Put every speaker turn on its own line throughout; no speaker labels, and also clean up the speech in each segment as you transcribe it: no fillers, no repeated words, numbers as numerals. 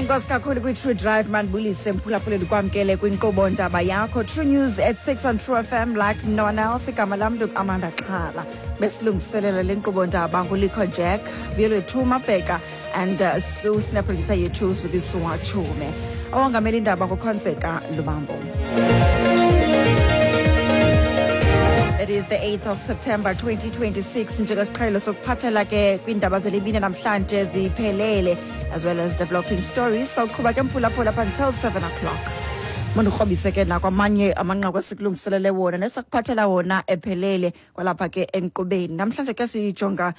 Enkosi kakhulu kwi-True Drive. Mandibulise, mphulaphuleli, kwamkele kwinkqubo ndaba yakho, True News at 6 on True FM like no one else. Igama lam Amanda Xhala. Besilungiselela le nkqubo ndaba nguLikho Jack, Vuyolwethu Mabheka and Sue, producer yethu Zukiswa Chume. Owongamela indaba nguKhonzeka Lubambo. It is the 8th of September 2026. Njengesiqhelo sokuphathela ke kwiindaba zelibini namhlanje ziphelele, as well as developing stories. Sawuqhuba ke, mphulaphula, up until 7 o'clock. Mandikrobise ke nakwamanye amanqaku esikulungiselele wona nesakuphathela wona ephelele kwalapha ke enkqubeni. Namhlanje ke sijonga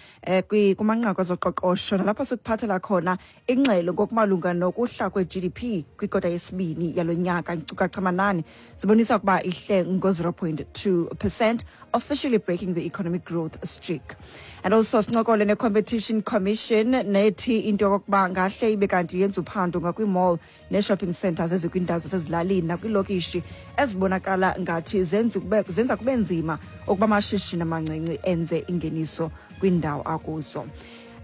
kumanqaku ezoqoqosho, nalapho sikuphathela khona ingxelo ngokumalunga nokuhla kwe-GDP kwikota yesibini yalo nyaka. Inkcukacha manani zibonisa ukuba ihle ngo-0.2%, officially breaking the economic growth streak. And also sincokole ne-Competition Commission, nethi into yokokuba ngahle ibe kanti yenza uphando ngakwii-mall nee-shopping centers ezikwiindawo zasezilalini nakwiilokishi ezibonakala ngathi zenza kube nzima ukuba amashishini amancinci enze ingeniso kwiindawo akuzo.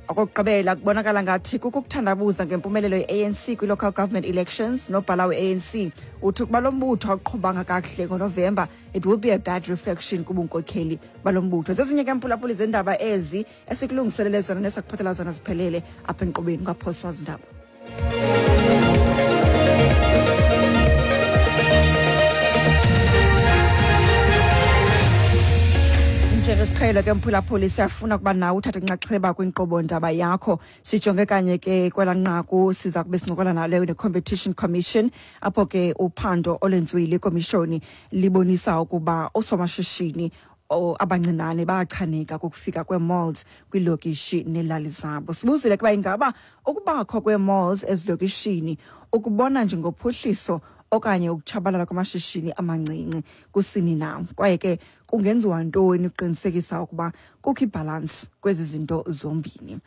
Okokugqibela, kubonakala ngathi kukho ukuthandabuza ngempumelelo ye-ANC kwi-local government elections. Nobhala we-ANC uthi ukuba lo mbutho awuqhubanga kakuhle ngoNovemba, it will be a bad reflection kubunkokheli balo mbutho. Zezinye ke, mphulaphuli, zendaba ezi esikulungiselele zona nesakuphathela zona ziphelele apha enkqubeni. Ungaphoswa zindaba. Njengesiqhelo ke, mphulaphuli, siyafuna ukuba nawe uthathe inxaxheba kwinkqubo ndaba yakho. Sijonge kanye ke kwelaa nqaku siza kube sincokola nalo ne-Competition Commission, apho ke uphando olwenziwe ikomishoni libonisa ukuba oosomashishini abancinane bayachaneka kukufika kwee-malls kwiilokishi neelali zabo. Sibuzile kuba ingaba ukubakho kwee-malls ezilokishini ukubona njengophuhliso okanye ukutshabalala kwamashishini amancinci kusini na, kwaye ke kungenziwa ntoni ukuqinisekisa ukuba kukho ibhalansi kwezi zinto zombini.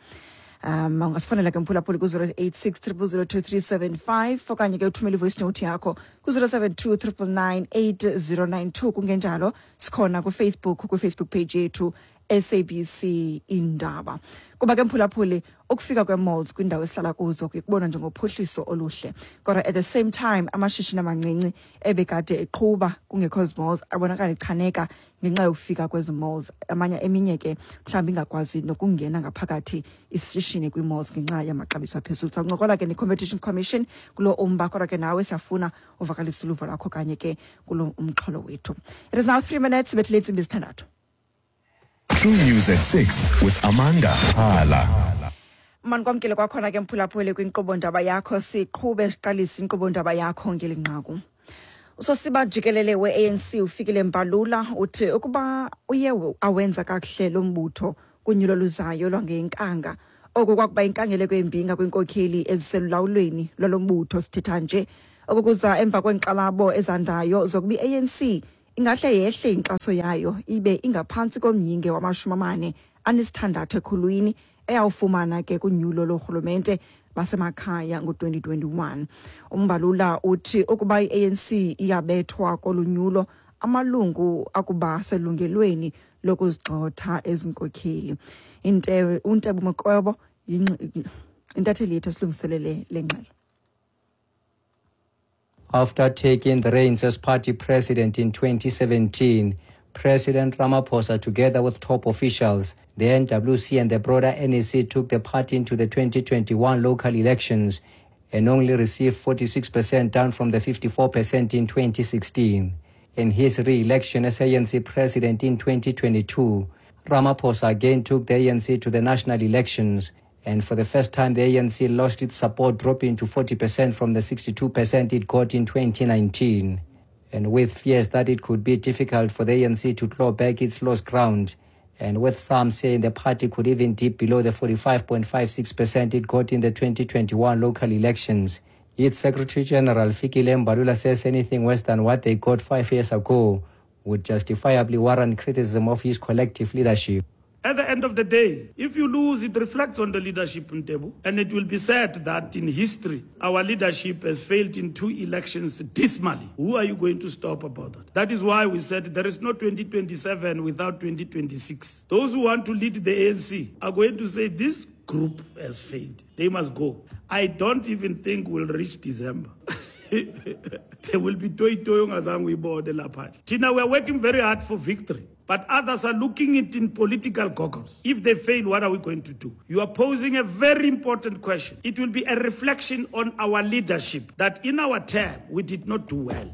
Ungasifonela ke, mphulaphuli, ku-086 000 2375, okanye ke uthumele i-voice note yakho ku-072 999 8092. Kungenjalo sikhona kuFacebook, kwiFacebook page yethu SABC Indaba. Kuba ke, mphulaphuli, ukufika kwee-malls kwiindawo esihlala kuzo kuye kubonwa njengophuhliso oluhle, kodwa at the same time amashishini amancinci ebekade eqhuba kungekho zi-malls abonakala echaneka ngenxa yokufika kwezi malls. Amanye, eminye ke mhlawumbi ingakwazi nokungena ngaphakathi isishishini kwii-malls ngenxa yamaxabiso aphezulu. Sawuncokola ke ne-Competition Commission kulo umba, kodwa ke nawe siyafuna uvakalisa uluvo lwakho kanye ke kulo umxholo wethu. It is now 3 minutes bethile intsimbi 6.
True News at 6 with Amanda Hala.
Manikwamkele kwakhona ke, mphulaphuli, kwinkqubo ndaba yakho. Siqhube siqalise inkqubo ndaba yakho ngeli nqaku. Usosiba jikelele we-ANC uFikile Mbalula uthi ukuba uye awenza kakuhle lo mbutho kunyulo luzayo lwangenkanga, oku kwakuba inkangeleko embi ngakwinkokheli eziselulawulweni lwalo mbutho. Sithetha nje oku kuza emva kweenkxalabo ezandayo zokuba i-ANC ingahle yehle inkxaso yayo ibe ingaphantsi komyinge wama-46 ekhulwini eyawufumana ke kunyulo lorhulumente basemakhaya ngo-2021. UMbalula uthi ukuba i-ANC iyabethwa kolu nyulo, amalungu akuba selungelweni lokuzigxotha ezinkokheli. UNtebo Mokwebo intatheli yethu esilungiselele le ngxelo.
After taking the reins as party president in 2017, President Ramaphosa, together with top officials, the NWC and the broader NEC, took the party into the 2021 local elections and only received 46%, down from the 54% in 2016. In his re-election as ANC president in 2022, Ramaphosa again took the ANC to the national elections, and for the first time the ANC lost its support, dropping to 40% from the 62% it got in 2019. And with fears that it could be difficult for the ANC to claw back its lost ground, and with some saying the party could even dip below the 45.56% it got in the 2021 local elections, its Secretary General Fikile Mbalula says anything worse than what they got 5 years ago would justifiably warrant criticism of his collective leadership.
At the end of the day, if you lose, it reflects on the leadership in Ntebo. And it will be said that in history, our leadership has failed in two elections dismally. Who are you going to stop about that? That is why we said there is no 2027 without 2026. Those who want to lead the ANC are going to say this group has failed. They must go. I don't even think we'll reach December. There will be toyi-toyi ongazange uyibone lapha. Thina, we are working very hard for victory, but others are looking it in political goggles. If they fail, what are we going to do? You are posing a very important question. It will be a reflection on our leadership that in our term, we did not do well.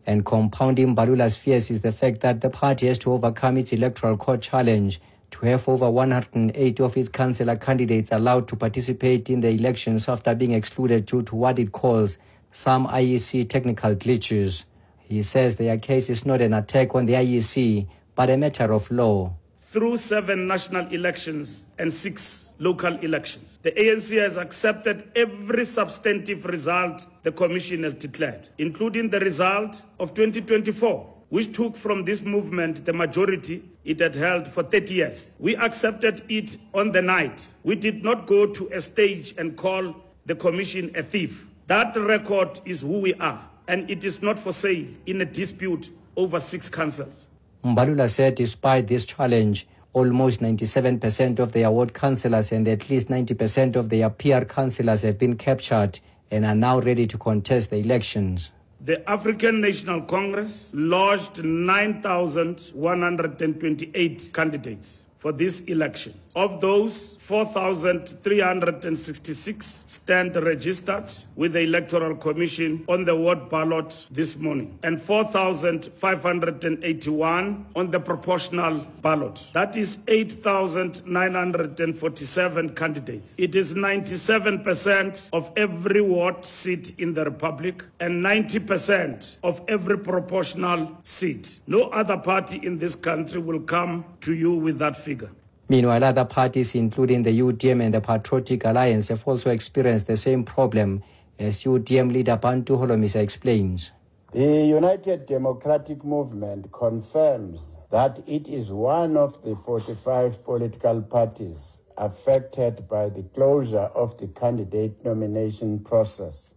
And compounding Mbalula's fears is the fact that the party has to overcome its electoral court challenge to have over 180 of its councillor candidates allowed to participate in the elections after being excluded due to what it calls some IEC technical glitches. He says their case is not an attack on the IEC, but a matter of law.
Through 7 national elections and 6 local elections, the ANC has accepted every substantive result the Commission has declared, including the result of 2024, which took from this movement the majority it had held for 30 years. We accepted it on the night. We did not go to a stage and call the Commission a thief. That record is who we are, and it is not for sale in a dispute over 6 councils.
Mbalula said despite this challenge, almost 97% of their ward councillors and at least 90% of their peer councillors have been captured and are now ready to contest the elections.
The African National Congress lodged 9,128 candidates for this election. Of those, 4,366 stand registered with the Electoral Commission on the ward ballot this morning, and 4,581 on the proportional ballot. That is 8,947 candidates. It is 97% of every ward seat in the Republic and 90% of every proportional seat. No other party in this country will come to you with that figure.
Meanwhile, other parties, including the UDM and the Patriotic Alliance, have also experienced the same problem, as UDM leader Bantu Holomisa explains.
The United Democratic Movement confirms that it is one of the 45 political parties affected by the closure of the candidate nomination process.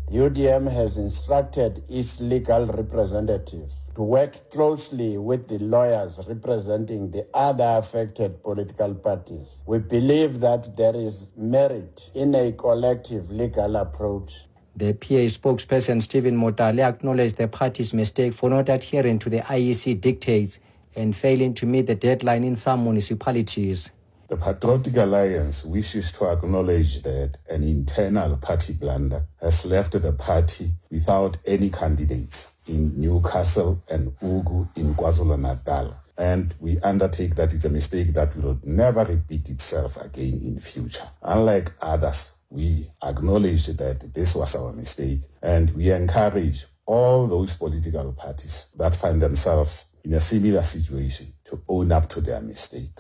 The UDM has instructed its legal representatives to work closely with the lawyers representing the other affected political parties. We believe that there is merit in a collective legal approach.
The PA spokesperson Stephen Motale acknowledged the party's mistake for not adhering to the IEC dictates and failing to meet the deadline in some municipalities.
The Patriotic Alliance wishes to acknowledge that an internal party blunder has left the party without any candidates in Newcastle and Ugu in KwaZulu-Natal. And we undertake that it's a mistake that will never repeat itself again in future. Unlike others, we acknowledge that this was our mistake, and we encourage all those political parties that find themselves in a similar situation to own up to their mistake.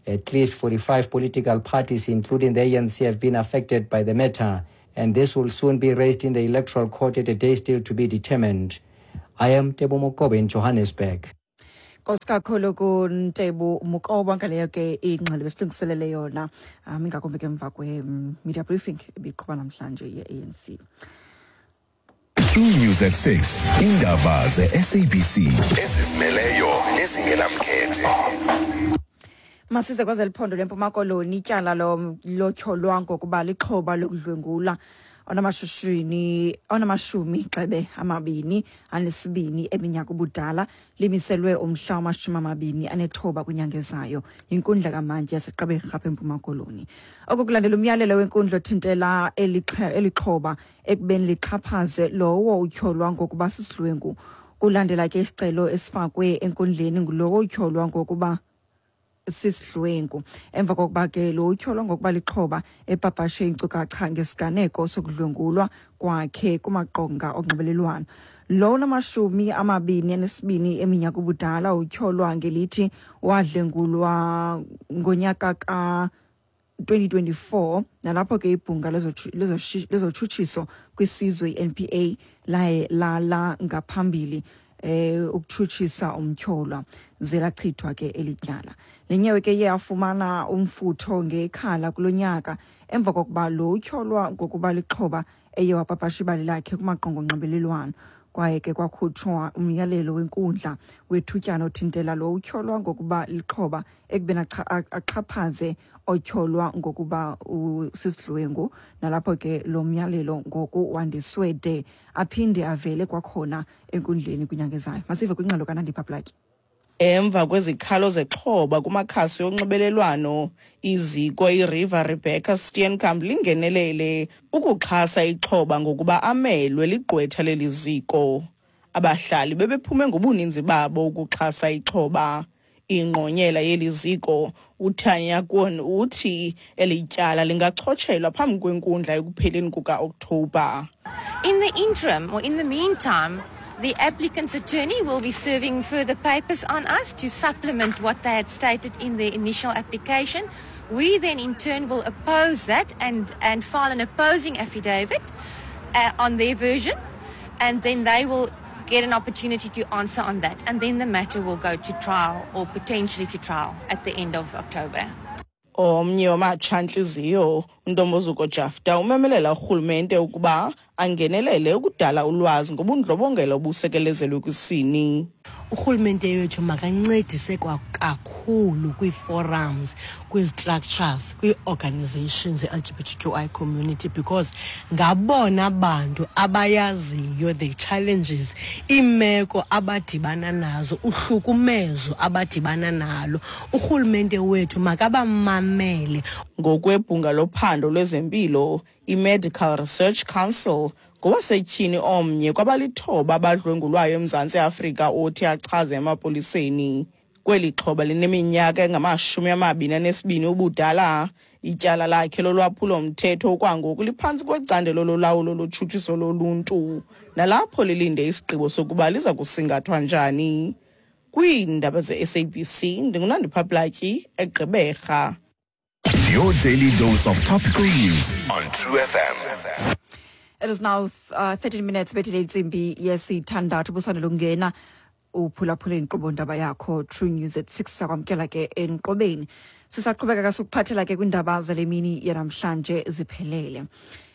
At least 45 political parties, including the ANC, have been affected by the matter, and this will soon be raised in the electoral court at a day still to be determined. I am Tebo Mokobe in Johannesburg.
Nkosi kakhulu kuNtebo Mokobe ngaleyo ke ingxelo besilungiselele yona, ingakumbi ke emva kwe-media briefing ebiqhuba namhlanje ye-ANC.
True News at 6. Indaba ze-SABC ezizimeleyo nezingenamkhethe.
Masize kwezeli phondo lempuma Koloni. Ityala lotyholwa ngokuba lixhoba lokudlwengula onamashumi xebe 22 eminyaka ubudala limiselwe umhla wama-29 kwinyanga ezayo yinkundla kamantyi yaseGqeberha apha eMpuma Koloni. Oku kulandela umyalelo wenkundla othintela elixhoba ekubeni lixhaphaze lowo utyholwa ngokuba sisidlwengu. Kulandela ke isicelo esifakwe enkundleni ngulowo utyholwa ngokuba sisidlwengu emva kokuba ke lo utyholwa ngokuba lixhoba epapashe iinkcukacha ngesiganeko sokudlwengulwa kwakhe kumaqonga onxibelelwano. Lo unama-22 eminyaka ubudala utyholwa ngelithi wadlwengulwa ngonyaka ka-2024, nalapho ke ibhunga lezotshutshiso kwisizwe i-NPA laye lala ngaphambili ukutshutshisa umtyholwa, ze lachithwa ke eli tyala. Le nyewe ke iye yafumana umfutho ngekhala kulo nyaka emva kokuba lo utyholwa ngokuba lixhoba eye wapapasha ibali lakhe kumaqonga onxibelelwano. Kwaye ke kwakhutshwa umyalelo wenkundla wethutyana othintela lo utyholwa ngokuba lixhoba ekubeni axhaphaze otyholwa ngokuba sisidlwengu. Nalapho ke lo myalelo ngoku wandiswe de aphinde avele kwakhona enkundleni kwinyanga ezayo. Masive kwingxelo kaNandipha Platyi.
Emva kwezikhalo zexhoba kumakhasi onxibelelwano, iziko iReeva Rebecca Steenkamp lingenelele ukuxhasa ixhoba ngokuba amelwe ligqwetha leli ziko. Abahlali bebephume ngobuninzi babo ukuxhasa ixhoba. Ingqonyela yeli ziko uTanya Kwon uthi eli tyala lingachotshelwa phambi kwenkundla ekupheleni kuka-Okthobha.
In the interim, or in the meantime, the applicant's attorney will be serving further papers on us to supplement what they had stated in their initial application. We then in turn will oppose that and file an opposing affidavit on their version, and then they will get an opportunity to answer on that, and then the matter will go to trial or potentially to trial at the end of October.
Omnye wamatshantliziyo uNtombozuko Jafta umemelela urhulumente ukuba angenelele ukudala ulwazi ngobundlobongela obusekelezelwe kwisini.
Urhulumente wethu makancedise kakhulu kwii-forums, kwii-structures, kwii-organizations ze-LGBTQI community, because ngabona bantu abayaziyo the challenges, iimeko abadibana nazo, uhlukumezo abadibana nalo. Urhulumente wethu makabamamele.
Ngokwebhunga lophando lwezempilo, i-Medical Research Council, ngowasetyhini omnye kwabalithoba abadlwengulwayo eMzantsi Afrika othi achaze emapoliseni. Kweli xhoba lineminyaka engama-22 ubudala, ityala lakhe lolwaphulo-mthetho okwangoku liphantsi kwecandelo lolawulo lotshutshiso loluntu, nalapho lilinde isigqibo sokuba liza kusingathwa njani. Kwiindaba ze-SABC, ndinguNandipha Platyi, eGqeberha.
Your daily dose of topical news on True FM.
It is now 13 minutes bethile intsimbi yesithandathu, busandela ukungena uphulaphula inkqubo ndaba yakho True News at 6. Sakwamkela ke enkqubeni. Sisaqhubeka ke sokuphathela ke kwiindaba zale mini yanamhlanje ziphelele.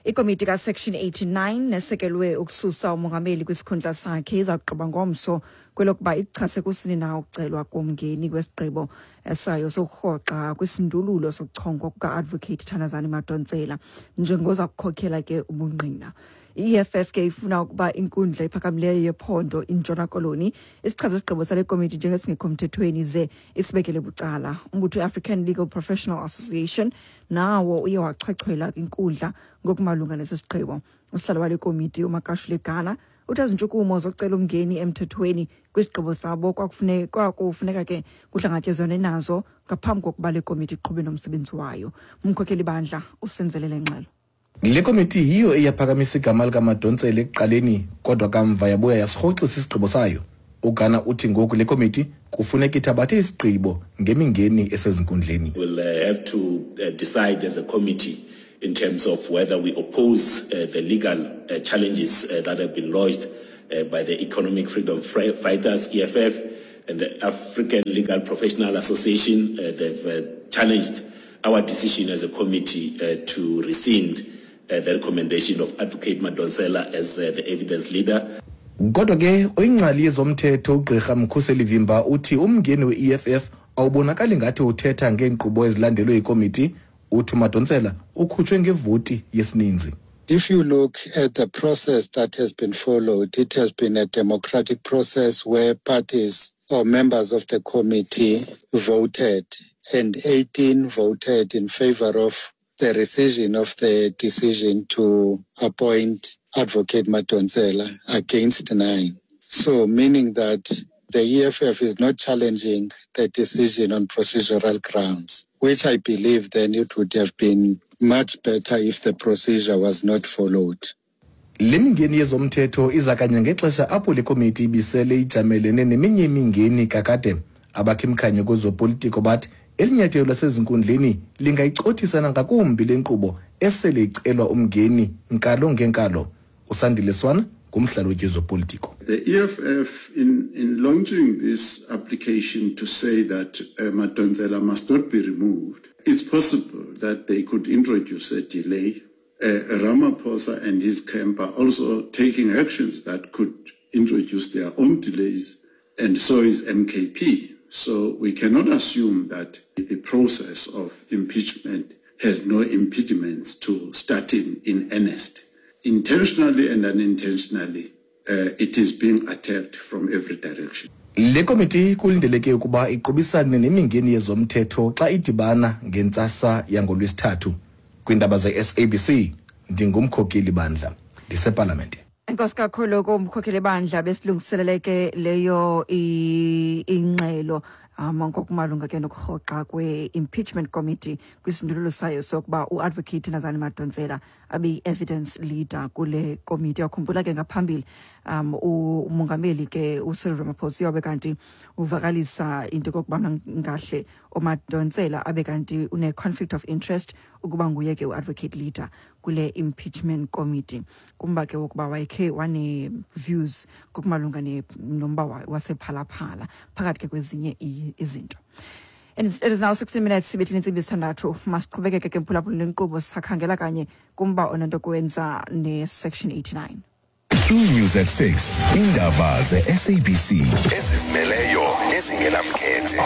Ikomiti kaSection 89 nesekelwe ukususa umongameli kwisikhundla sakhe iza kugqiba ngomso kwelokuba ichase kusini na ukucelwa komngeni kwesigqibo sayo sokurhoxa kwisindululo sokuchongwa kuka-Advocate Thandazani Madonsela njengoza kukhokhela ke ubungqina. I-EFF ke ifuna ukuba inkundla ephakamileyo yephondo iNtshona Koloni isichaze isigqibo sale komiti njengesingekho mthethweni ze isibekele bucala. Umbutho i-African Legal Professional Association nawo uye wachwechwela kwinkundla ngokumalunga nesi sigqibo. Usihlalo wale komiti uMakashule Gana uthi ezintshukumo zokucela umngeni emthethweni kwisigqibo sabo kwakufuneka ke kuhlangatyezwane nazo ngaphambi kokuba le komiti iqhube nomsebenzi wayo. Umkhokheli bandla usenzelele ngxelo.
Le komiti yiyo eyaphakamisa igama likaMadonsela ekuqaleni, kodwa kamva yabuya yasirhoxisa isigqibo sayo. UGana uthi ngoku le komiti kufuneka ithabathe isigqibo ngemingeni esezinkundleni.
We'll have to decide as a committee in terms of whether we oppose the legal challenges that have been lodged by the Economic Freedom Fighters, EFF, and the African Legal Professional Association. They've challenged our decision as a committee to rescind the recommendation of Advocate Madonsela as the evidence leader.
Kodwa ke oyingcali yezomthetho ugqirha Mkhuseli Vimba uthi umngeni we-EFF awubonakali ngathi uthetha ngeenkqubo ezilandelwe yikomiti. Uthi uMadonsela ukhutshwe ngevoti yesininzi.
If you look at the process that has been followed, it has been a democratic process where parties or members of the committee voted, and 18 voted in favor of the rescission of the decision to appoint Advocate Madonsela against 9. So meaning that the EFF is not challenging the decision on procedural grounds, which I believe then it would have been much better if the procedure was not followed.
Le mingeni yezomthetho iza kanye ngexesha apho le komiti ibisele ijamelene neminye imingeni kakade. Abakhimkhanye kwezopolitiko bathi elinyathelo lasezinkundleni lingayicothisa nangakumbi le nkqubo esele icelwa umngeni nkalo ngenkalo. USandile Swana ngumhlalutyi wezopolitiko.
The EFF, in launching this application to say that Madonsela must not be removed, it's possible that they could introduce a delay. Ramaphosa and his camp are also taking actions that could introduced their own delays, and so is MKP. So we cannot assume that the process of impeachment has no impediments to starting in earnest. Intentionally and unintentionally, it is being attacked from every direction.
Le komiti kulindeleke ukuba iqubisane nemingeni yezomthetho xa idibana ngentsasa yangoLwesithathu. Kwiindaba ze-SABC ndingumkhokeli bandla ndisepalamente.
Enkosi kakhulu kumkhokheli bandla, besilungiselele ke leyo ingxelo ngokumalunga ke nokurhoxa kwe-impeachment committee kwisindululo sayo sokuba uadvocate Thandazani Madonsela abe yi-evidence leader kule komiti. Yakhumbula ke ngaphambili umongameli ke uCyril Ramaphosa uyabe kanti uvakalisa into yokokubana ngahle uMadonsela abe kanti une-conflict of interest ukuba nguye ke u-advocate leader kule impeachment committee, kumba ke wokuba wayekhe wane-views ngokumalunga nomba wasePhala Phala, phakathi ke kwezinye izinto. And it is now 16 minutes sibethile intsimbi 6. Masiqhubekeke ke, mphulaphula, nenkqubo. Sisakhangela kanye kumba onento kwenza ne-section 89.
True News at 6. Indaba ze-SABC ezizimeleyo nezingenamkhethe.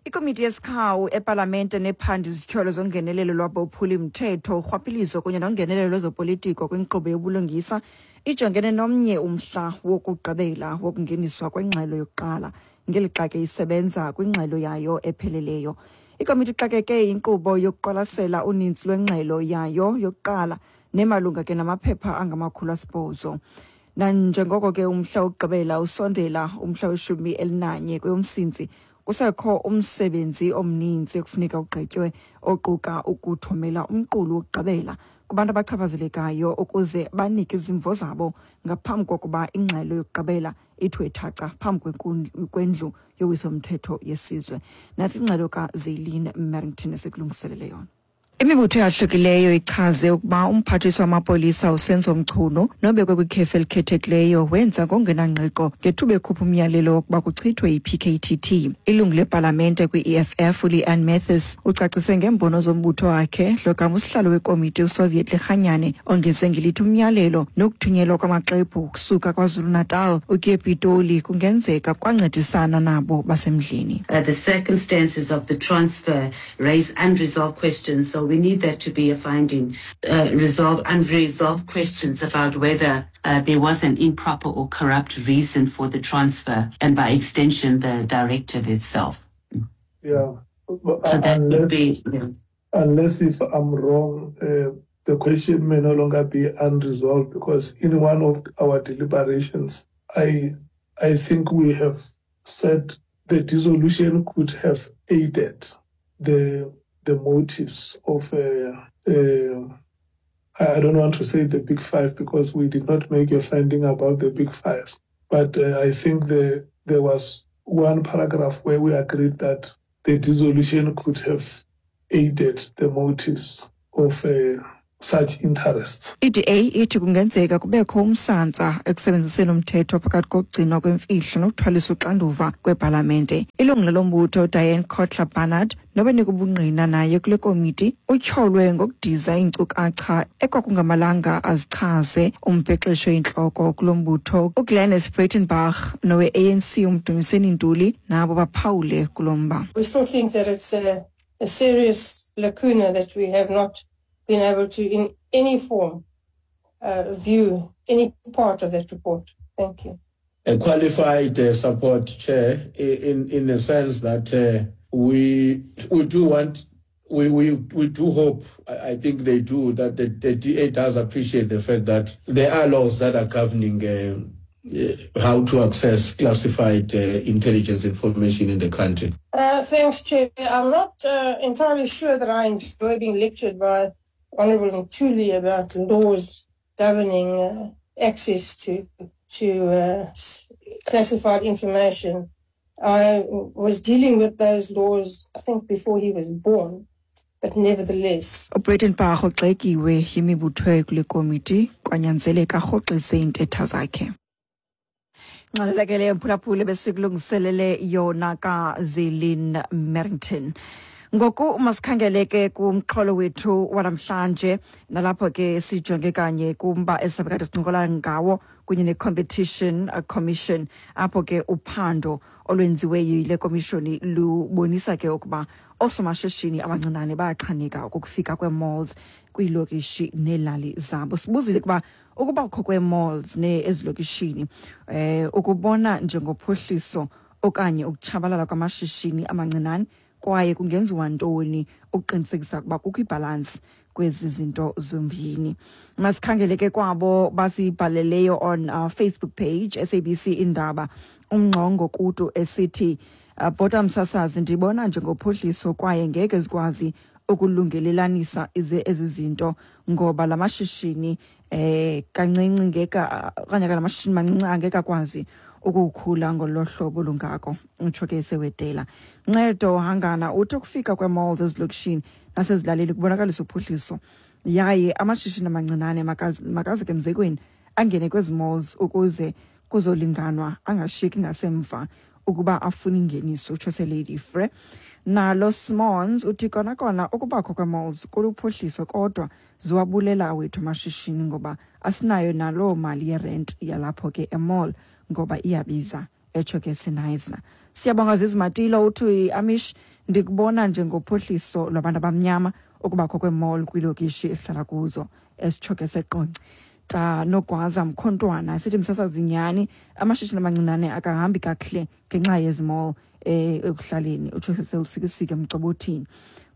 Ikomiti yesikhawu epalamente nephanda izityholo zongenelelo lwabophuli-mthetho, urhwaphilizo kunye nongenelelo lwezopolitiko kwinkqubo yobulungisa ijongene nomnye umhla wokugqibela wokungeniswa kwengxelo yokuqala, ngelixa ke isebenza kwingxelo yayo epheleleyo. Ikomiti ixakeke inkqubo yokuqwalasela uninzi lwengxelo yayo yokuqala nemalunga ke namaphepha angama-800. Nanjengoko ke umhla wokugqibela usondela, umhla we-11 kweyoMsintsi, kusekho umsebenzi omninzi ekufuneka ugqitywe, oquka ukuthumela umqulu wokugqibela kubantu abachaphazelekayo ukuze banike izimvo zabo ngaphambi kokuba ingxelo yokugqibela ithiwe thaca phambi kwendlu yowiso-mthetho yesizwe. Nathi ingxelo kaZeline Merrington esikulungiselele yona. Imibutho eyahlukileyo ichaze ukuba umphathiswa wamapolisa uSenzo Mchunu, nobekwe kwikhefu elikhethekileyo, wenza ngokungenangqiqo ngethuba ekhupha umyalelo wokuba kuchithwe i-PKTT. Ilungu lepalamente kwi-EFF uLeanne Mathis ucacise ngeembono zombutho wakhe, logama usihlalo wekomiti uSoviet Lekganyane ongeze ngelithi umyalelo nokuthunyelwa kwamaxwebhu ukusuka KwaZulu-Natal ukuya ePitoli kungenzeka kwancedisana nabo basemdleni.
The circumstances of the transfer raise unresolved questions, so we need that to be a finding. Resolve unresolved questions about whether there was an improper or corrupt reason for the transfer, and by extension, the directive itself.
Yeah.
So that would
Unless,
be, yeah.
unless if I'm wrong, the question may no longer be unresolved because in one of our deliberations, I think we have said the dissolution could have aided the motives of I don't want to say the big five because we did not make a finding about the big five, but I think there was one paragraph where we agreed that the dissolution could have aided the motives of such interests.
I-DA ithi kungenzeka kubekho umsantsa ekusebenziseni umthetho phakathi kokugcinwa kwemfihlo nokuthwaliswa uxanduva kwepalamente. Ilungu lombutho Diane Cotler Barnard, nobenika ubungqina naye kule komiti, utyholwe ngokudiza iinkcukacha ekwakungamalanga azichaze umbhexeshi oyintloko kulo mbutho uGlynnis Breytenbach nowe-ANC uMdumiseni Ntuli nabo baphawule kulo mba.
We still think that it's a serious lacuna that we have not been able to, in any form, view any part of that report. Thank you.
A qualified support, Chair, in the sense that we do want, we do hope, I think they do, that the DA does appreciate the fact that there are laws that are governing how to access classified intelligence information in the country.
Thanks, Chair. I'm not entirely sure that I enjoy being lectured by Honourable Ntuli about laws governing access to classified information. I was dealing with those laws, I think, before he was born, but nevertheless.
UBreytenbach ugxekiwe yimibutho kule komiti, kwanyanzeleka arhoxise iintetha zakhe. Ngxelo ke mphulaphuli besikulungiselele yona kaZelin Merrington. Ngoku masikhangele ke kumxholo wethu wanamhlanje, nalapho ke sijonge kanye kumba esizabe kade sincokola ngawo kunye ne-Competition Commission, apho ke uphando olwenziwe yile komishoni lubonisa ke ukuba oosomashishini abancinane bayaxhaneka ukufika kwee-malls kwiilokishi neelali zabo. Sibuzile ukuba ukubakho kwee-malls ezilokishini ukubona njengophuhliso okanye ukutshabalala kwamashishini amancinane, kwaye kungenziwa ntoni ukuqinisekisa ukuba kukho ibhalansi kwezi zinto zombini. Masikhangele ke kwabo basibhaleleyo on our Facebook page SABC Indaba. Umngxongo Kutu esithi, bhota msasazi, ndibona njengophuhliso kwaye ngeke zikwazi ukulungelelanisa ezi zinto ngoba la mashishini kancinci ngeka okanye la mashishini mancinci angeke akwazi ukukhula ngolo hlobo lungako, utsho ke sewedela. Ncedo Hangana uthi ukufika kwee-malls ezilokishini nasezilalini kubonakalisa uphuhliso, yaye amashishini amancinane makaze ke mzekweni angene kwezi malls ukuze kuzolinganwa, angashiyeki ngasemva ukuba afune ingeniso, utsho seLady Frere. Nalo Smons uthi kona kona ukubakho kwee-malls kuluphuhliso, kodwa ziwabulela awethu amashishini ngoba asinayo naloo mali yerent yalapho ke emall ngoba iyabiza, etsho ke sinayizna. Siyabonga Zizimatilo uthi, Amish, ndikubona njengophuhliso lwabantu abamnyama ukubakho kwee-mall kwiilokishi esihlala kuzo, esitsho ke seqonce. Ta Nogwaza Mkhontwana sithi, msasazi, nyhani amashishini amancinane akahambi kakuhle ngenxa yezi mall ekuhlaleni, utsho sewusikisike mcobothini.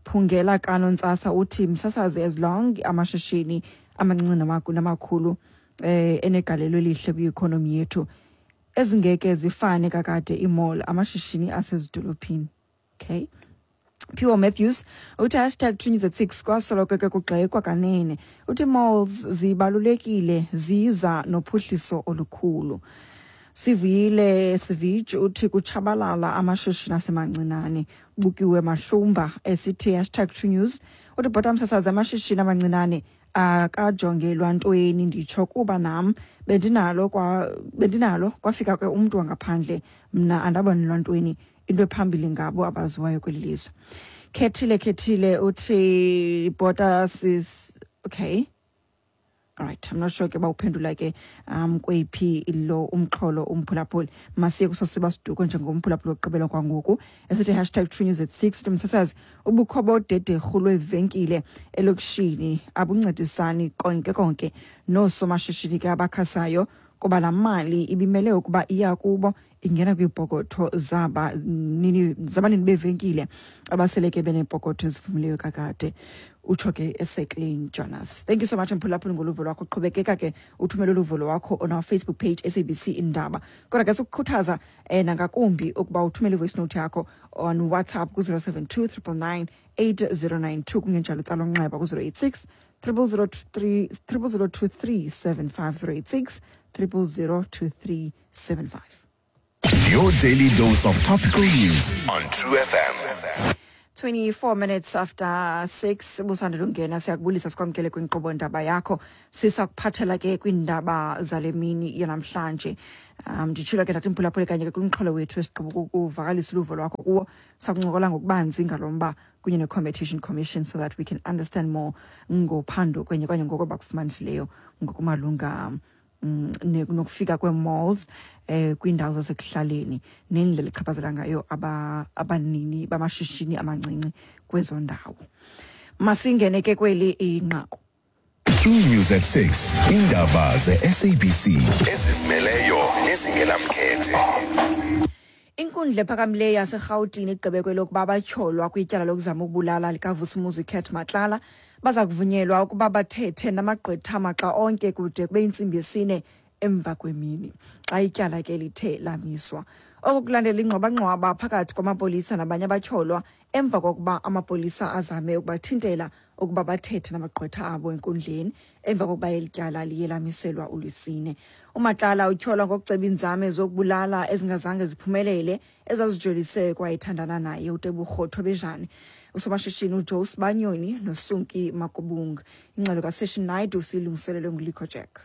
Phungela Kanontsasa uthi, msasazi, as long amashishini amancinci namakhulu enegalelo elihle kwi-economy yethu, ezingeke zifane kakade ii-mall amashishini asezidolophini. Okay. Phiwo Matthews uthi #TrueNews at 6, kwasoloko ke kugxekwa kanene. Uthi malls zibalulekile, ziza nophuhliso olukhulu. Sivuyile Sivij uthi kutshabalala amashishini asemancinane. Bukiwe Mahlumba esithi #TrueNews uthi, bhota msasazi, amashishini amancinane akajongelwa ntweni, nditsho kuba nam bendinalo kwafika ke umntu wangaphandle, mna andabonelwa ntweni, into ephambili ngabo abaziwayo kweli lizwe. Khethile Khethile uthi, bhota sis, okay. Alright, I'm not sure ke bawuphendula ke kweyiphi lo umxholo umphulaphuli. Masiye kusosiba siduko njengomphulaphuli wokugqibela kwangoku esithi #TrueNews at 6, uthi, msasazi, ubukho bodederhu lweevenkile elokishini abuncedisani konke konke noosomashishini ke abakhasayo, kuba laa mali ibimele ukuba iya kubo ingena kwiipokotho zabanini beevenkile abasele ke beneepokotho ezifumileyo kakade, utsho ke eseClean Jonas. Thank you so much mphulaphuli ngoluvo lwakho. Qhubekeka ke uthumele uluvo lwakho on our Facebook page SABC Indaba, kodwa ke sikukhuthaza nangakumbi ukuba uthumele ivoice note yakho on WhatsApp ku-072 999 8092, kungenjalo utsala umnxeba ku-086 0023 0002375, 086 0002375.
Your daily dose of topical news on True FM.
24 minutes after 6, busandela ungena, siyakubulisa sikwamkele kwinkqubo ndaba yakho. Sisakuphathela ke kwiindaba zale mini yanamhlanje. Nditshilo ke ndathi mphulaphuli kanye ke kumxholo wethu esigqiba ukuvakalisa uluvo lwakho kuwo, sakuncokola ngokubanzi ngalo mba kunye ne-Competition Commission so that we can understand more ngophando kwenye kanye ngoko bakufumanisileyo ngokumalunga nokufika kwee-malls kwiindawo zasekuhlaleni nendlela echaphazela ngayo abanini bamashishini amancinci kwezo ndawo. Masingene ke kweli inqaku.
True News at 6. Indaba ze-SABC ezizimeleyo nezingenamkhethe.
Inkundla ephakamileyo yaseRhawutini igqibe kwelokuba abatyholwa kwityala lokuzama ukubulala likaVusimuzi Cat Matlala baza kuvunyelwa ukuba bathethe namagqwetha maxa onke kude kube yintsimbi yesine emva kwemini, xa ityala ke lithe lamiswa. Oku kulandela ingxwabangxwaba phakathi kwamapolisa nabanye abatyholwa emva kokuba amapolisa azame ukubathintela ukuba bathethe namagqwetha abo enkundleni emva kokuba eli tyala liye lamiselwa uLwesine. UMatlala utyholwa ngokuceba iinzame zokubulala ezingazange ziphumelele ezazijolise kwayethandana naye uTebogo Thobejane, usomashishini uJoe Sibanyoni noSunki Makubung. Ingxelo kaSession Naidu siyilungiselelwe nguLico Jack.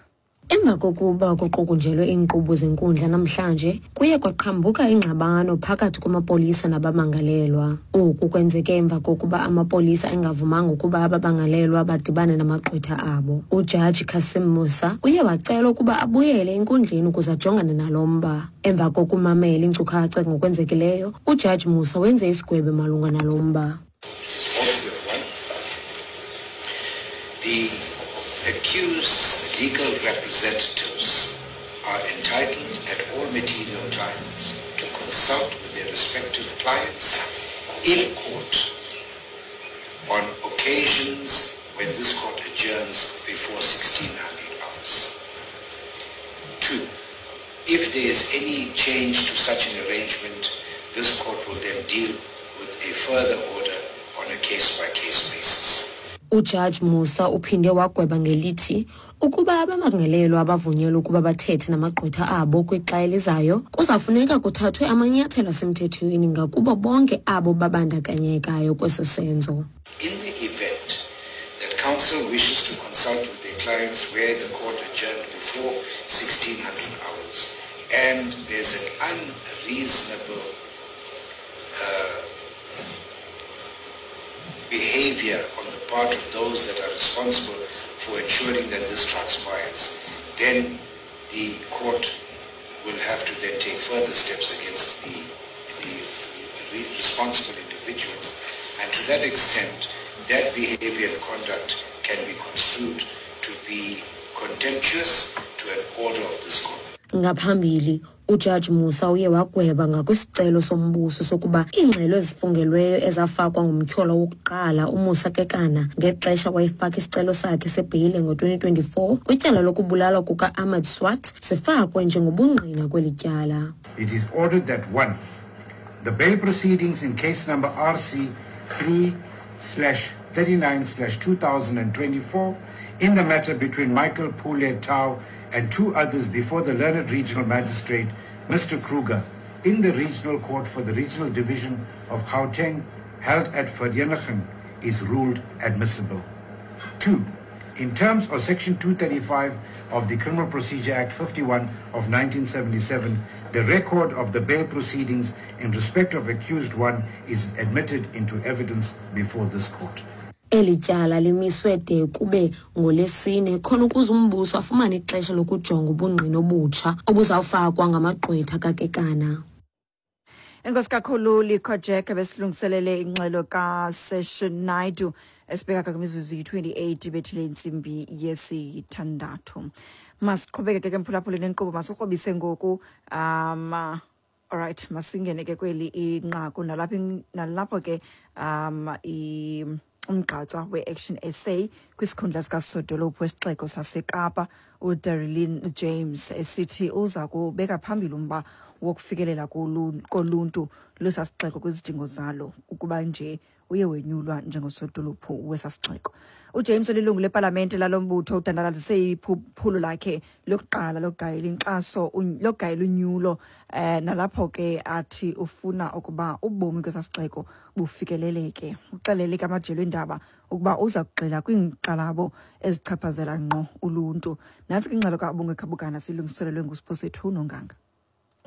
Emva kokuba kuqukunjelwe iinkqubo zenkundla namhlanje, kuye kwaqhambuka ingxabano phakathi kwamapolisa nabamangalelwa. Oku kwenzeke emva kokuba amapolisa engavumanga ukuba abamangalelwa badibane namagqwetha abo. Ujaji Cassim Musa uye wacela ukuba abuyele enkundleni ukuze ajongane nalo mba. Emva kokumamela iinkcukacha ngokwenzekileyo, ujaji Musa wenze isigwebo malunga nalo mba.
The accused's legal representatives are entitled at all material times to consult with their respective clients in court on occasions when this court adjourns before 1600 hours. 2, if there is any change to such an arrangement, this court will then deal with a further order on a case-by-case basis.
Ujaji Musa uphinde wagweba ngelithi ukuba abamangalelwa abavunyelwa ukuba bathethe namagqwetha abo kwixa elizayo, kuzafuneka kuthathwe amanyathelo asemthethweni ngakubo bonke abo babandakanyekayo kweso senzo.
In the event that counsel wishes to consult with their clients where the court adjourned before 1600 hours and there's an unreasonable behavior on the part of those that are responsible for ensuring that this transpires, then the court will have to then take further steps against the responsible individuals. And to that extent, that behavior and conduct can be construed to be contemptuous to an order of this court.
Ngaphambili, uJaji Musa uye wagweba ngakwisicelo sombuso sokuba iingxelo ezifungelweyo ezafakwa ngumtyholwa wokuqala uMusa Kekana ngexesha wayefaka isicelo sakhe sebheyile ngo-2024 kwityala lokubulalwa kuka-Ahmad Swart zifakwe njengobungqina kweli tyala.
It is ordered that 1, the bail proceedings in case number RC 3/39/2024 in the matter between Michael Pule Tau and 2 others before the learned regional magistrate, Mr. Kruger, in the regional court for the regional division of Gauteng, held at Vereeniging, is ruled admissible. 2, in terms of Section 235 of the Criminal Procedure Act 51 of 1977, the record of the bail proceedings in respect of accused 1 is admitted into evidence before this court.
Eli tyala limiswe de kube ngolwesine khona ukuze umbuso afumane ixesha lokujonga ubungqina obutsha obuzawufakwa ngamagqwetha kaKekana.
Enkosi kakhulu Likho Jack besilungiselele ingxelo kaSession Naidu esibheka kwimizuzu yi-28 bethile intsimbi yesithandathu. Masiqhubeke ke mphulaphuli nenkqubo, masikrobise ngoku. Alright, masingene ke kweli inqaku nalapho ke umgqatswa we-Action SA kwisikhundla sikasodolophu wesixeko saseKapa uDereleen James esithi uza kubeka phambili umba wokufikelela koluntu lwesasixeko kwizidingo zalo ukuba nje uye wenyulwa njengosodolophu wesasixeko. uJames olilungu lepalamente lalo mbutho udandalazise iphulo lakhe lokuqala lokugayela inkxaso lokugayela unyulo nalapho ke athi ufuna ukuba ubomi kwesasixeko bufikeleleke. Uxelele ke amajelo eendaba ukuba uza kugxila kwiinkxalabo ezichaphazela ngqo uluntu. Nantsi ke ingxelo kaBongwe Khabukana silungiselelwe nguSiphosethu Nonganga.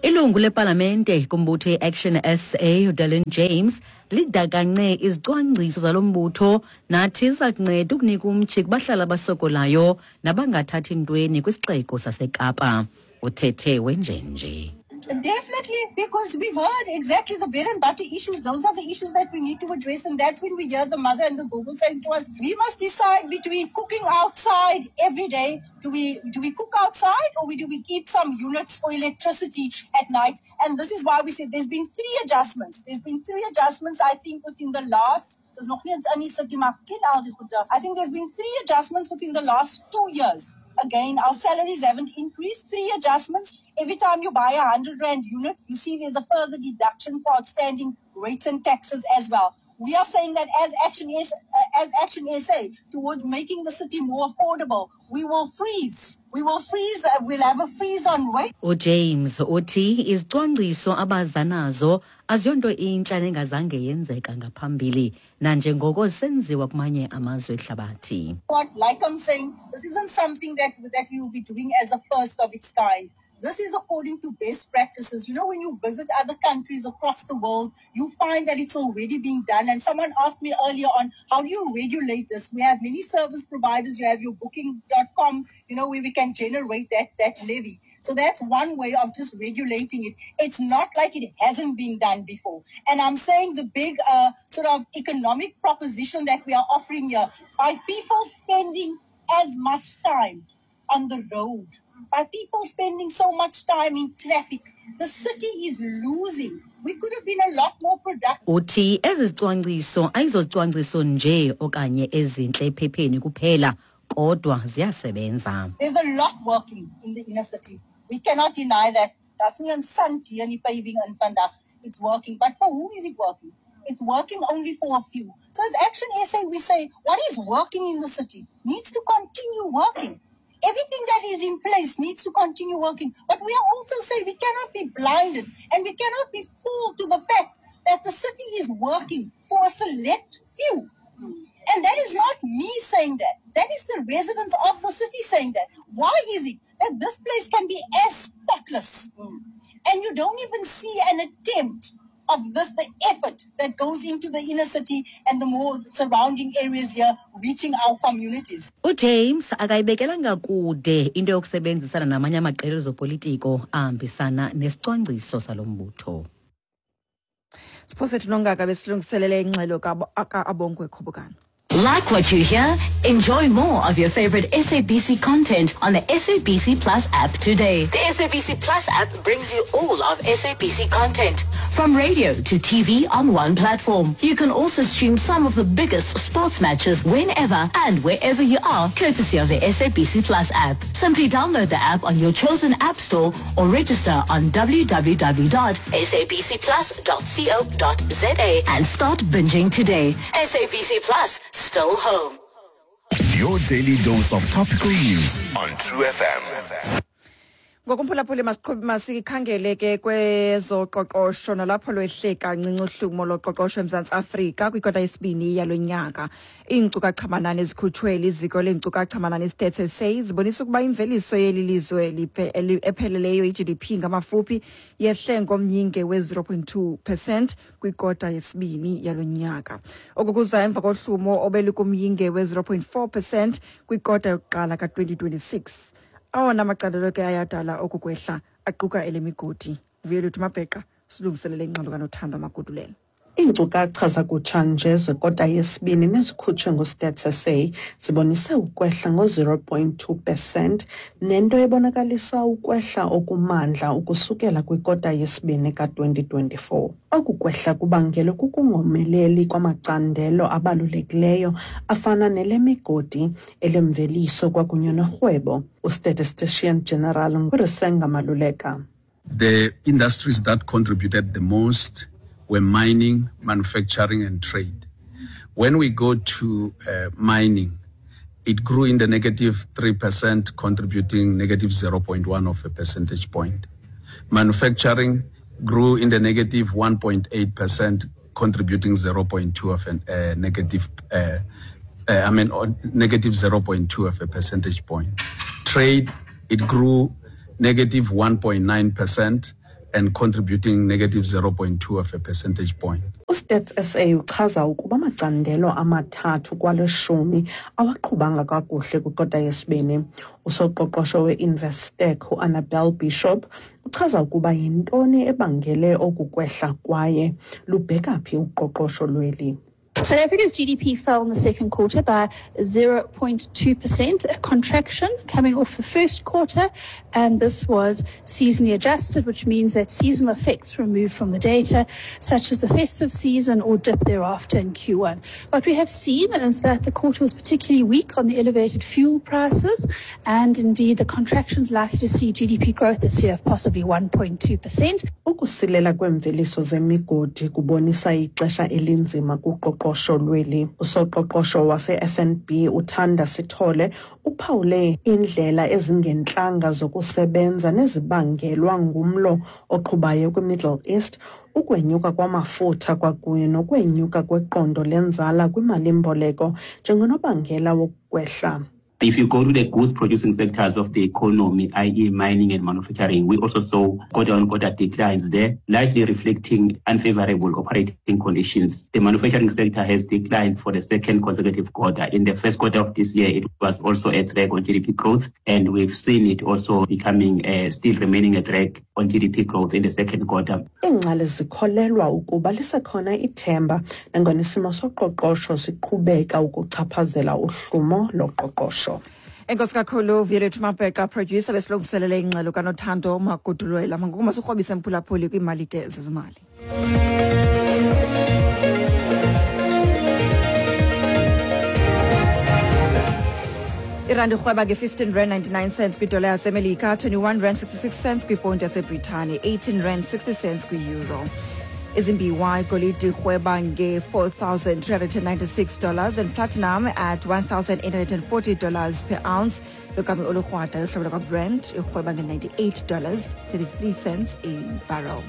Ilungu lepalamente kumbutho i-Action SA uDereleen James lidakance izicwangciso zalo mbutho nathi ziza kunceda ukunika umtyhi kubahlali abasokolayo nabangathathi ntweni kwisixeko saseKapa. Uthethe wenjenje.
Definitely, because we've heard exactly the bread and butter issues. Those are the issues that we need to address. And that's when we hear the mother and the Gogo saying to us, we must decide between cooking outside every day. Do we cook outside or do we keep some units for electricity at night? And this is why we said there's been 3 adjustments. There's been 3 adjustments, I think, within the last... There's nog nie eens in die city, maar ken al die goede. I think there's been 3 adjustments within the last 2 years. Again, our salaries haven't increased. 3 adjustments. Every time you buy a 100 rand unit, you see there's a further deduction for outstanding rates and taxes as well. We are saying that as Action SA, towards making the city more affordable, we will freeze. We will freeze. We'll have a freeze on rate.
UJames uthi izicwangciso abazanazo aziyonto intsha nengazange yenzeka ngaphambili nanjengoko senziwa kumanye amazwe ehlabathi.
What, like I'm saying, this isn't something that, that we will be doing as a first of its kind. This is according to best practices. You know, when you visit other countries across the world, you find that it's already being done. And someone asked me earlier on, how do you regulate this? We have many service providers. You have your booking.com, you know, where we can generate that, that levy. So that's one way of just regulating it. It's not like it hasn't been done before. And I'm saying the big sort of economic proposition that we are offering here, by people spending as much time on the road, by people spending so much time in traffic, the city is losing. We could have been a lot more productive.
Uthi ezi zicwangciso ayizozicwangciso nje okanye ezintle ephepheni kuphela, kodwa ziyasebenza.
There's a lot working in the inner city. We cannot deny that. Daar's nie 'n sand hier in die paving in vandag. It's working. But for who is it working? It's working only for a few. So as Action SA, we say what is working in the city needs to continue working. Everything that is in place needs to continue working. But we are also saying we cannot be blinded and we cannot be fooled to the fact that the city is working for a select few. And that is not me saying that. That is the residents of the city saying that. Why is it that this place can be as spotless and you don't even see an attempt of this, the effort that goes into the inner city and the more surrounding areas here, reaching our communities?
UJames akayibekelanga kude into yokusebenzisana namanye amaqela ezopolitiko ahambisana nesicwangciso salo mbutho.
Siphosethu nongaka besilungiselele ingxelo ka-Abongwe Khobokana.
Like what you hear? Enjoy more of your favorite SABC content on the SABC Plus app today. The SABC Plus app brings you all of SABC content, from radio to TV on one platform. You can also stream some of the biggest sports matches whenever and wherever you are, courtesy of the SABC Plus app. Simply download the app on your chosen app store or register on www.sabcplus.co.za and start binging today. SABC Plus, still home.
Your daily dose of topical news on True FM.
Ngokumphulaphuli, masiqhube masikhangele ke kwezoqoqosho, nalapho lwehle kancinci uhlumo loqoqosho eMzantsi Afrika kwikota yesibini yalo nyaka. Iinkcukacha-manani ezikhutshwe liziko leenkcukacha-manani iStats SA zibonisa ukuba imveliso yeli lizwe epheleleyo, i-GDP ngamafuphi, yehle ngomyinge we-0.2% kwikota yesibini yalo nyaka. Oku kuza emva kohlumo obelikumyinge we-0.4% kwikota yokuqala ka-2026. Awona macandelo ke ayadala oku kwehla aquka elemigodi. Vuyeluthu Mabheqa silungiselele ingxelo kaNothando Magudulela.
Iinkcukacha zakutshanje zekota yesibini nezikhutshwe nguStats SA zibonise ukwehla ngo-0.2 percent, nento ebonakalisa ukwehla okumandla ukusukela kwikota yesibini ka-2024. Oku kwehla kubangelwe kukungomeleli kwamacandelo abalulekileyo afana nelemigodi, elemveliso kwakunye norhwebo. UStatistician General nguRisenga Maluleka.
The industries that contributed the most were mining, manufacturing, and trade. When we go to mining, it grew in the negative 3%, contributing negative 0.1 of a percentage point. Manufacturing grew in the negative 1.8%, contributing 0.2 of a negative, I mean, negative 0.2 of a percentage point. Trade, it grew negative 1.9% and contributing negative 0.2 of a percentage point.
UStats SA uchaza ukuba amacandelo amathathu kwalishumi awaqhubanga kakuhle kwikota yesibini. Usoqoqosho we-Investec uAnnabel Bishop uchaza ukuba yintoni ebangele oku kwehla kwaye lubheka phi uqoqosho lweli.
South Africa's GDP fell in the second quarter by 0.2%, a contraction coming off the first quarter, and this was seasonally adjusted, which means that seasonal effects removed from the data, such as the festive season or dip thereafter in Q1. What we have seen is that the quarter was particularly weak on the elevated fuel prices, and indeed the contraction's likely to see GDP growth this year of possibly 1.2%.
Ukusilela kwemveliso zemigodi kubonisa ixesha elinzima kuqoqosho. kuqoqosho lweli. Usoqoqosho wase-FNB uThanda Sithole uphawule iindlela ezingentlanga zokusebenza nezibangelwa ngumlo oqhubayo kwiMiddle East, ukwenyuka kwamafutha kwakunye nokwenyuka kweqondo lenzala kwimalimboleko njengonobangela wokwehla.
If you go to the goods producing sectors of the economy, i.e. mining and manufacturing, we also saw quarter on quarter declines there, largely reflecting unfavorable operating conditions. The manufacturing sector has declined for the second consecutive quarter. In the first quarter of this year, it was also a drag on GDP growth, and we've seen it also becoming still remaining a drag on GDP growth in the second quarter.
Iingcali zikholelwa ukuba lisekhona ithemba nangona isimo soqoqosho siqhubeka ukuchaphazela uhlumo loqoqosho.
Enkosi kakhulu, Vuyolwethu Mabheqa, producer, besilungiselele ingxelo kaNothando Magudulwela. Mangoku masikrobise, mphulaphuli, kwiimali ke zezimali. Irandi irhweba nge-15 rand 99 cents kwidola yaseMelika, 21 rand 66 cents kwiponti yaseBritane, 18 rand 60 cents kwi-euro. Izimbiwa, igolide irhweba nge-$4,396 and platinum at $1,840 per ounce. Logama olukrwada, uhlobo lwakwaBrent, irhweba nge-$98.33 a barrel.